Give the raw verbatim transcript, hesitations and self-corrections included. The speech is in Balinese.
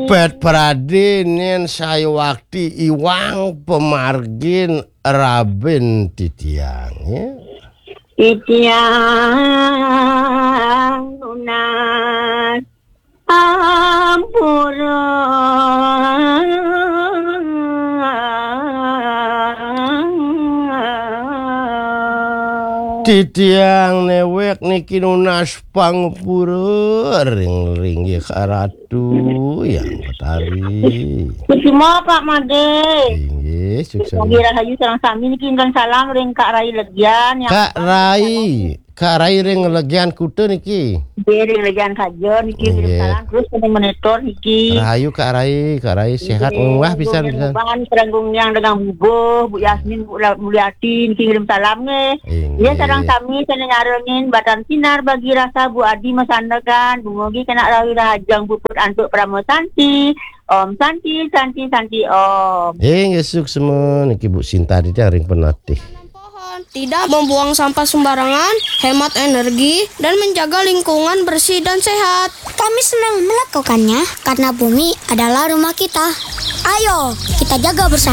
Pet pradé nén sayuwakti iwang pamargin rabin titiang, ya. Titiang nunas ampura. Titiang néwék niki nunas pangapura ring linggih Kak Ratu Hyang Betari. Kusuma, Pak Madé. Inggih, suksma. Rahayu sareng sami niki ngirim salam ring Kak Rai Legian, ya. Kak Rai, Kak Rai ring Legian Kuta niki. Nggih, ring Legian Kaja niki ngirim salam terus ring monitor niki. Rahayu Kak Rai, Kak Rai séhat, nggih, munggah pisan, pisan. Sareng Gung Niang dengan bubuh, Bu Yasmin, Bu La-, Mulyati niki ngirim salam nggih. Inggih. Nggih, sareng sami sané nyarengin Batan Sinar Bagi Rasa, Bu Adi Masandekan, dumugi kena rahayu rahajeng puput antuk Parama Santi. Om Santi, Santi, Santi, Om. Inggih, suksma niki Bu Sinta titiang ring Penatih. Pohon, tidak membuang sampah sembarangan, hemat energi, dan menjaga lingkungan bersih dan sehat. Kami senang melakukannya karena bumi adalah rumah kita. Ayo, kita jaga bersama.